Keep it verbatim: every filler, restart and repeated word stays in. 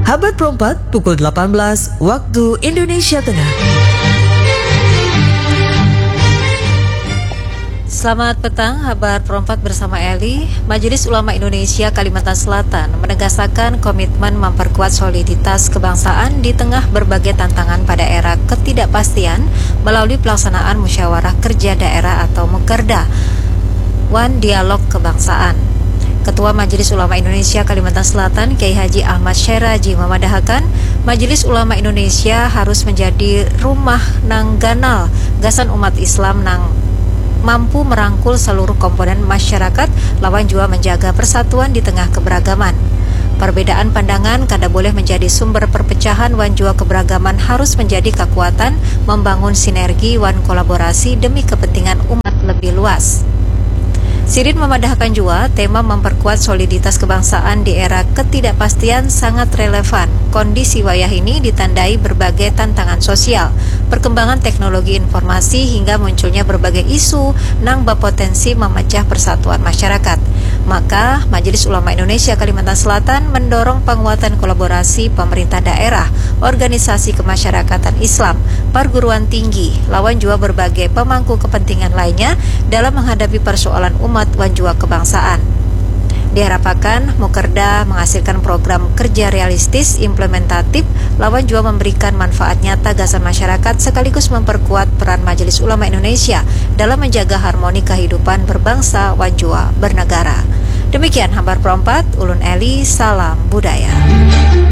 Habar perempat pukul delapan belas waktu Indonesia Tengah. Selamat petang, habar perempat bersama Eli. Majelis Ulama Indonesia Kalimantan Selatan menegaskan komitmen memperkuat soliditas kebangsaan di tengah berbagai tantangan pada era ketidakpastian melalui pelaksanaan musyawarah kerja daerah atau mukerda wan dialog kebangsaan. Ketua Majelis Ulama Indonesia Kalimantan Selatan, Kiai Haji Ahmad Syeraji, memadahakan Majelis Ulama Indonesia harus menjadi rumah nang ganal gasan umat Islam nang mampu merangkul seluruh komponen masyarakat lawan jua menjaga persatuan di tengah keberagaman. Perbedaan pandangan kada boleh menjadi sumber perpecahan wan jua keberagaman harus menjadi kekuatan membangun sinergi wan kolaborasi demi kepentingan umat lebih luas. Sidin memadahakan jua tema memperkuat soliditas kebangsaan di era ketidakpastian sangat relevan. Kondisi wayah ini ditandai berbagai tantangan sosial, perkembangan teknologi informasi hingga munculnya berbagai isu nang berpotensi memecah persatuan masyarakat. Maka, Majelis Ulama Indonesia Kalimantan Selatan mendorong penguatan kolaborasi pemerintah daerah, organisasi kemasyarakatan Islam, perguruan tinggi, lawan jua berbagai pemangku kepentingan lainnya dalam menghadapi persoalan umat wan jua kebangsaan. Diharapkan, Mukerda menghasilkan program kerja realistis, implementatif, lawan jua memberikan manfaat nyata gasan masyarakat sekaligus memperkuat peran Majelis Ulama Indonesia dalam menjaga harmoni kehidupan berbangsa wan jua bernegara. Demikian habar perempat, ulun Eli, salam budaya.